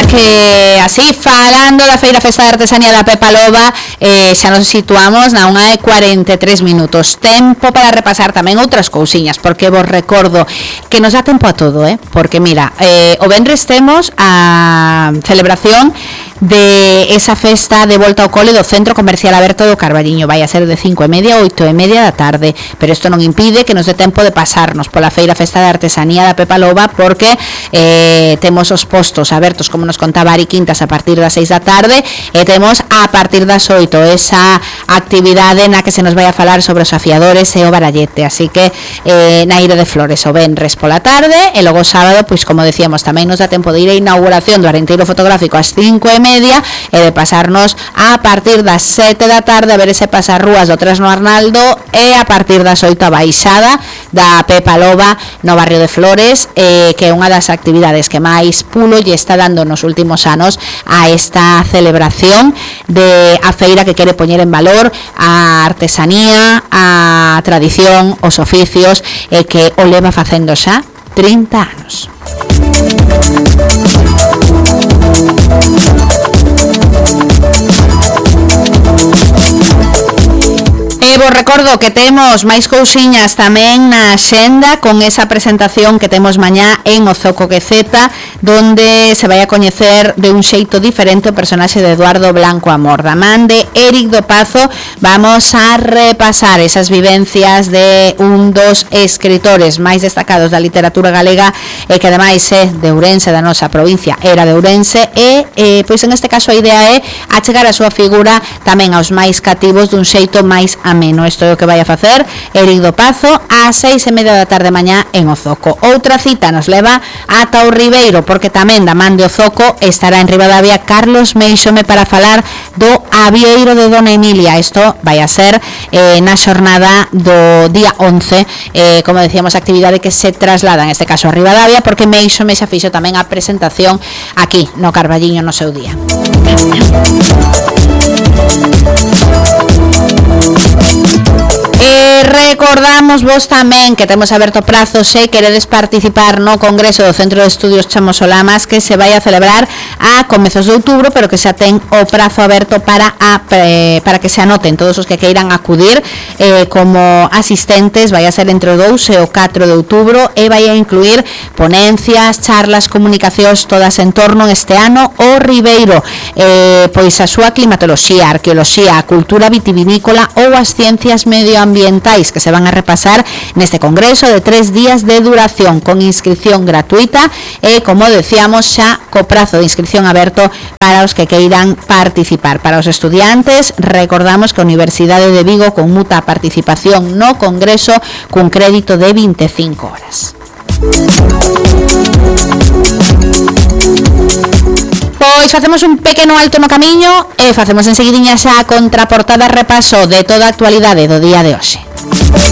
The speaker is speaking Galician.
que así, falando da Feira Festa de Artesanía da Pepa Loba, xa nos situamos na 1:43 minutos. Tempo para repasar tamén outras cousiñas, porque vos recordo que nos dá tempo a todo, porque mira, o venres temos a celebración de esa festa de volta ao cole do Centro Comercial Aberto do Carballiño. Vai a ser de 5:30 a 8:30 da tarde, pero isto non impide que nos dé tempo de pasarnos pola Feira Festa de Artesanía da Pepa Loba, porque temos os postos abertos, como nos contaba Ari Quintas, a partir das 6 da tarde, e temos a partir das 8 esa actividade na que se nos vai a falar sobre os afiadores e o barallete. Así que na Ire de Flores o venres pola tarde, e logo sábado, pois como decíamos, tamén nos dá tempo de ir a inauguración do Arenteiro Fotográfico ás 5:30 e de pasarnos a partir das 7 da tarde a ver ese pasarrúas do Tresno Arnaldo, e a partir das 8 a baixada da Pepa Loba no barrio de Flores, que é unha das actividades que máis pulo lle está dando nos últimos anos a esta celebración de a feira, que quere poñer en valor a artesanía, a tradición, os oficios, e que o leva facendo xa 30 anos. Vos recordo que temos máis cousiñas tamén na xenda, con esa presentación que temos mañá en o Zoco Quezeta, donde se vai a coñecer de un xeito diferente o personaxe de Eduardo Blanco Amor. Da man de Éric do Pazo vamos a repasar esas vivencias de un dos escritores máis destacados da literatura galega, e que ademais é de Ourense, da nosa provincia, era de Ourense, e pois en este caso a idea é achegar a súa figura tamén aos máis cativos dun xeito máis ameno. Isto é o que vai a facer Éric do Pazo ás 6:30 da tarde mañá en o Zoco. Outra cita nos leva ata o Ribeiro, porque tamén da man de o Zoco estará en Ribadavia Carlos Meixome para falar do avieiro de Dona Emilia. Isto vai a ser na xornada do día 11, como decíamos, actividade que se traslada en este caso a Ribadavia, porque Meixome xa fixo tamén a presentación aquí no Carballiño no seu día. Recordamos vos tamén que temos aberto prazo se queredes participar no Congreso do Centro de Estudios Chamosolamas, que se vai a celebrar a comezos de outubro, pero que xa ten o prazo aberto para que se anoten todos os que queiran acudir como asistentes. Vai a ser entre o 2 e o 4 de outubro, e vai a incluir ponencias, charlas, comunicacións, todas en torno este ano o Ribeiro, pois a súa climatoloxía, arqueoloxía, a cultura vitivinícola ou as ciencias medioambientais, que se van a repasar neste congreso de 3 días de duración, con inscripción gratuita e, como decíamos, xa co prazo de inscripción aberto para os que queiran participar. Para os estudiantes, recordamos que a Universidade de Vigo conmuta a participación no congreso cun crédito de 25 horas. Pois facemos un pequeno alto no camiño e facemos enseguidiña xa a contraportada repaso de toda a actualidade do día de hoxe.